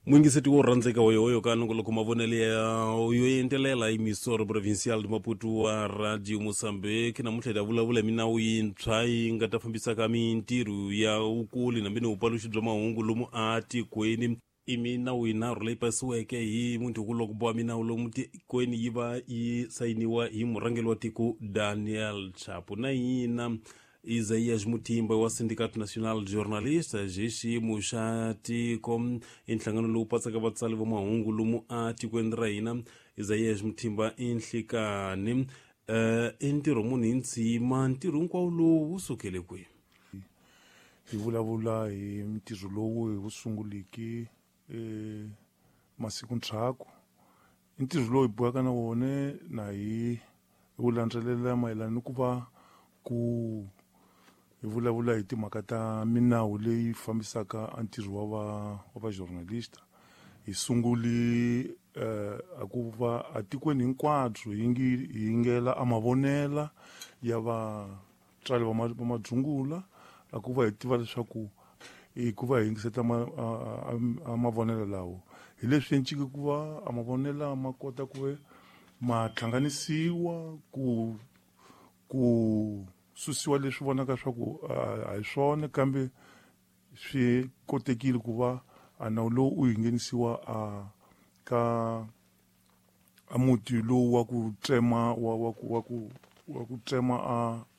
Muyingiseti wo rhandzeka hoyohoyo ka nongoloko mavonelo ya yo entelela emisoro provincial de Maputo wa Radio Mozambique. Namuntlha hi ta vulavula hi minawu yintshwa yi nga ta fambisaka mintirho ya vukuli nambi ni vupaluxi bya mahungu lomu atikweni. I minawu yinharhu leyi pasiweke hi munhukuloko wa minawu lomu tikweni yi va yi sayiniwa hi murhangeri wa tiko Daniel Chapo. Na hina Isaías Mutimba wa Sindicato Nacional de Jornalistas hi xiyimo xa tiko i nhlangano lowu patsaka vatsali va mahungu lomu atikweni ra hina. Isaías Mutimba i nhlikani i ntirho munhu hi ntshima ntirho hinkwawo lowu wu sukele kwihi? Hi vulavula hi ntirho lowu hi wu sunguliki masiku ndzhaku. I ntirho lowu hi boheka na wona na hi wu landzelela mayelana ni ku va ku hi vulavula hi timhaka ta minawu leyi fambisaka a ntirho wa va wa va journalista. Hi sunguli a ku va atikweni hinkwabyo hi ngi hi yingela a mavonela ya vatswari va va madzungula, a ku va hi tiva leswaku hi ku va hi yingiseta a mavonelo lawo hi leswi encike ku va a mavonela ma kota ku ma hlanganisiwa ku susiwa leswi vonaka swa ku a hi swona, kambe swi kotekile ku va a nawu lowu u yi nghenisiwa a ka a muti lowu wa ku tsema wa wa ku wa ku wa ku tsema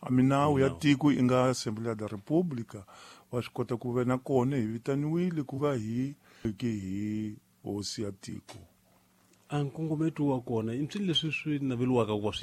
a minawu ya tiko i nga Assembleia da República. Wa swi kota ku ve na kona hi vitaniwile ku va hi hi hosi ya tiko. A nkongometo wa kona i swilo leswi swi naveliwaka ku va swi